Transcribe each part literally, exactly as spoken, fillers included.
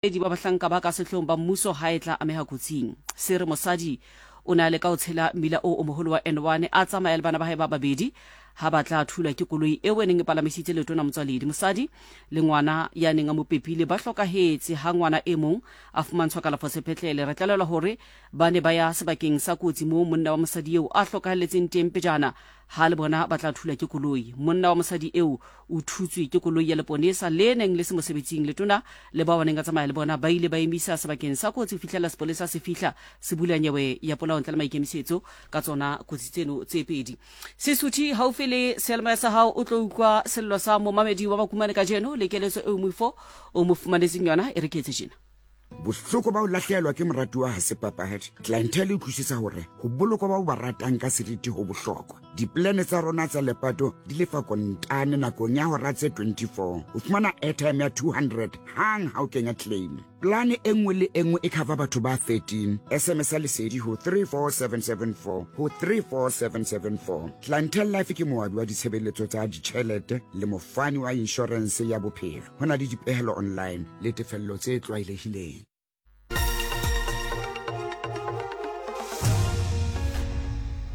Ba bahlanka ba ka sehloohong ba mmuso ha e tla ameha kotsing. Se re mosadi o ne a leka ho tshela mmila o o moholo wa N one a tsamaya le bana ba hae ba babedi ha ba tla thulwa ke koloi eo e neng e palamisitse letona Motswaledi. Mosadi le ngwana ya neng a mo pepile ba hlokahetse ha ngwana e mong a fumantshwa kalafo sepetlele. Re tlalelwa hore ba ne ba ya sebakeng sa kotsi moo monna wa mosadi eo a hlokahalletseng teng pejana ha le bona ba tla thulwa ke koloi. Monna wa mosadi eo o thutswe ke koloi ya leponesa le neng le se mosebetsing. Letona le bao ba neng a tsamaya le bona ba ile ba emisa sebakeng sa kotsi ho fihlela sepolesa se fihla se bula nyewe ya polao ntle le maikemisetso ka tsona kotsi tseno tse pedi. Sesuthi haufi le seyalemoya sa hao o tlo utlwa sello sa momamedi wa Makumane kajeno le keletso eo moifo o mo fumanetseng yona e re ke etse tjena. Bohloko ba ho lahlehelwa ke moratuwa ha se papadi. Clientele e utlwisisa hore ho bolokwa ba o ba ratang ka seriti ho bohlokwa. Dipolane tsa rona tsa lepato di lefa kontane nakong ya hora tse twenty-four. O fumana airtime ya two hundred hang ha o kenya claim. Plane e nngwe le e nngwe e cover batho ba thirteen. S M S ya Lesedi ho three four seven seven four ho three four seven seven four. Clientele Life ke moabi wa ditshebeletso tsa ditjhelete le mofani wa inshorense ya bophelo. Ho na le dipehelo online le tefello tse tlwaelehileng.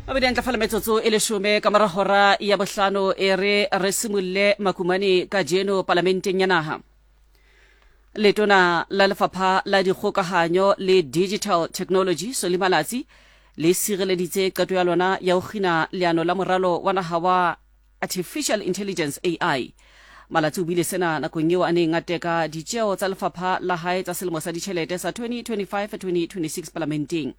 Mabedi a ntlafala metsotso e leshome ka mora hora ya bohlano. E re re simulle Makumane kajeno palamenteng ya naha. Letona la Lefapha la Dikgokahanyo le Digital Technology, Solly Malatsi, le sireleditse qeto ya lona ya ho kgina leano la moralo wa naha wa artificial intelligence, A I. Malatsi o buile sena nakong eo a neng a teka ditjeo tsa lefapha la hae tsa selemo sa ditjhelete sa twenty twenty-five twenty twenty-six palamenteng.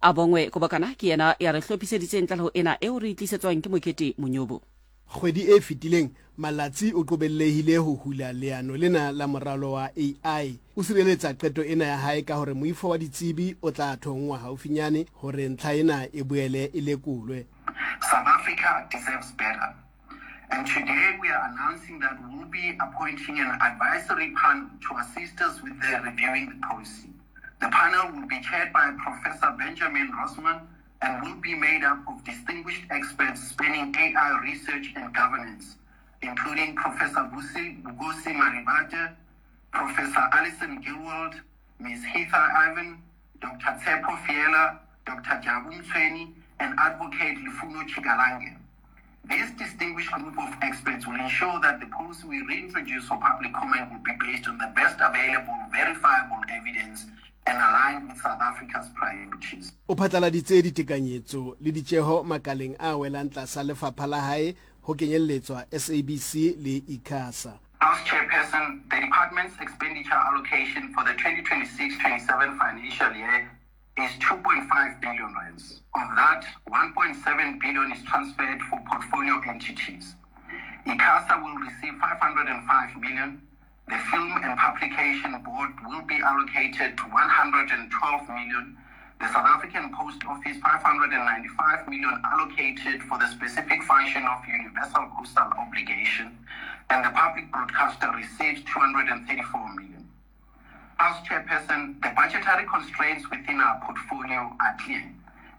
A bongwe Kobokana ke yena ya re hlophiseditseng tlaleho ena eo re e tlisetswang ke Mokete Monyobo. Kgwedi e fetileng Malatsi o qobellehile ho hula leano lena la moralo wa A I. O sireletsa qeto ena ya hae ka hore moifo wa ditsebi o tla thonngwa haufinyane hore ntlha ena e boele e lekolwe. South Africa deserves better. And today we are announcing that we'll be appointing an advisory panel to assist us with the reviewing the policy. The panel will be chaired by Professor Benjamin Rosman and will be made up of distinguished experts spanning A I research and governance, including Professor Busi Vukosi Marivate, Professor Alison Gillwald, Miz Heather Ivan, Doctor Tshepo Fiela, Doctor Jabu Mtsweni, and Advocate Lufuno Tshikalange. This distinguished group of experts will ensure that the policy we reintroduce for public comment will be based on the best available, verifiable evidence and aligned with South Africa's priorities. O phatlaladitse ditekanyetso le ditjeho makaleng a welang tlasa lefapha la hae ho kenyelletswa S A B C le ICASA. House Chairperson, the department's expenditure allocation for the twenty twenty-six twenty-seven financial year is two point five billion rands. Of that, one point seven billion is transferred for portfolio entities. ICASA will receive five hundred five million. The Film and Publication Board will be allocated to one hundred twelve million. The South African Post Office, five hundred ninety-five million allocated for the specific function of universal postal obligation, and the public broadcaster receives two hundred thirty-four million. House Chairperson, the budgetary constraints within our portfolio are clear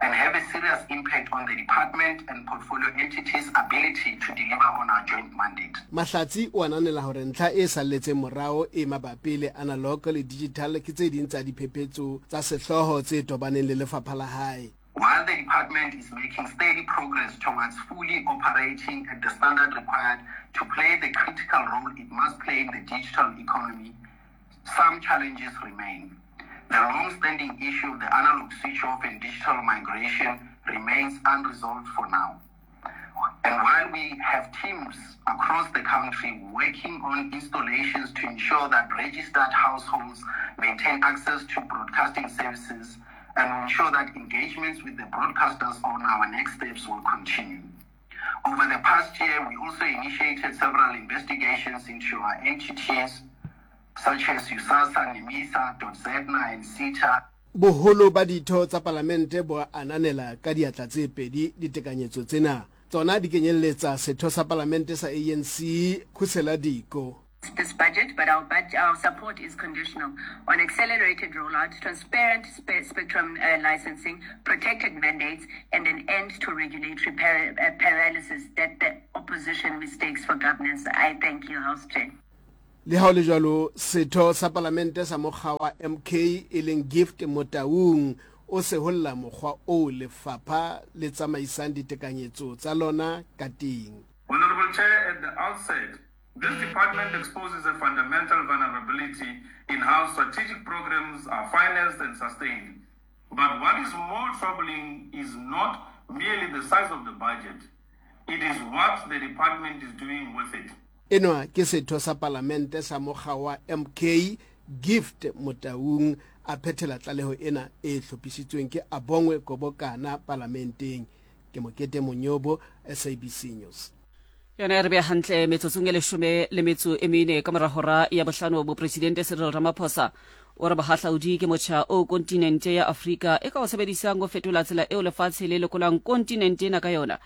and have a serious impact on the department and portfolio entities' ability to deliver on our joint mandate. Mahlatsi o ananela hore ntlha e salletseng morao e mabapi le analog le digital ke tse ding tsa diphephetso tsa sehlooho tse tobaneng le lefapha la hae. While the department is making steady progress towards fully operating at the standard required to play the critical role it must play in the digital economy, some challenges remain. The long-standing issue of the analog switch-off and digital migration remains unresolved for now. And while we have teams across the country working on installations to ensure that registered households maintain access to broadcasting services and ensure that engagements with the broadcasters on our next steps will continue. Over the past year, we also initiated several investigations into our entities such as USAASA, NEMISA, DOTZEDNA, and SETA. Boholo ba ditho tsa palamente bo ananela ka diatla tse pedi ditekanyetso tsena. Tsona di kenyelletsa setho sa palamente sa A N C, Khusela Diko. This budget, but our, budget, our support is conditional on accelerated rollout, transparent spe- spectrum uh, licensing, protected mandates, and an end to regulatory par- uh, paralysis that the opposition mistakes for governance. I thank you, House Chair. Le ha ho le jwalo, setho sa palamente sa mokga wa M K e leng Gift Motaung o seholla mokgwa oo lefapha le tsamaisang ditekanyetso tsa lona ka teng. Honorable Chair, at the outset, this department exposes a fundamental vulnerability in how strategic programs are financed and sustained. But what is more troubling is not merely the size of the budget, it is what the department is doing with it. Enwa ke setho sa palamente sa mokga wa M K Gift Motaung a phethela tlaleho ena e hlophisitsweng ke Abongwe Kobokana palamenteng. Ke Mokete Monyobo, S A B C News. Yona e re beya hantle metsotsong e leshome le metso e mene ka mora hora ya bohlano. Mopresidente Cyril Ramaphosa o re bohahlaudi ke motjha o kontinente ya Afrika e ka o sebedisang ho fetola tsela eo lefatshe le lekolang kontinente ena ka yona.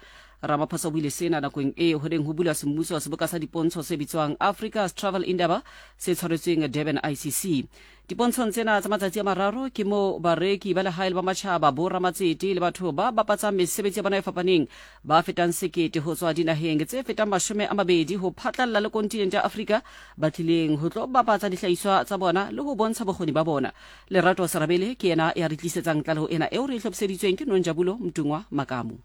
Ramaphosa o buile sena nakong e ho neng ho bulwa semmuso seboka sa dipontsho se bitswang Africa's Travel Indaba se tshwaretsweng Durban I C C. Dipontshong tsena tsa matsatsi a mararo ke mo bareki ba lehae le ba matjhaba, boramatsete le batho ba bapatsang mesebetsi ya bona e fapaneng ba fetang sekete ho tswa dinaheng tse fetang mashome a mabedi ho phatlalla le kontinente ya Afrika ba tlileng ho tlo bapatsa dihlahiswa tsa bona le ho bontsha bokgoni ba bona. Lerato Serabele ke yena ya re tlisetsang tlaleho ena eo re e hlophiseditsweng ke Nonjabulo Mtungwa Makamu.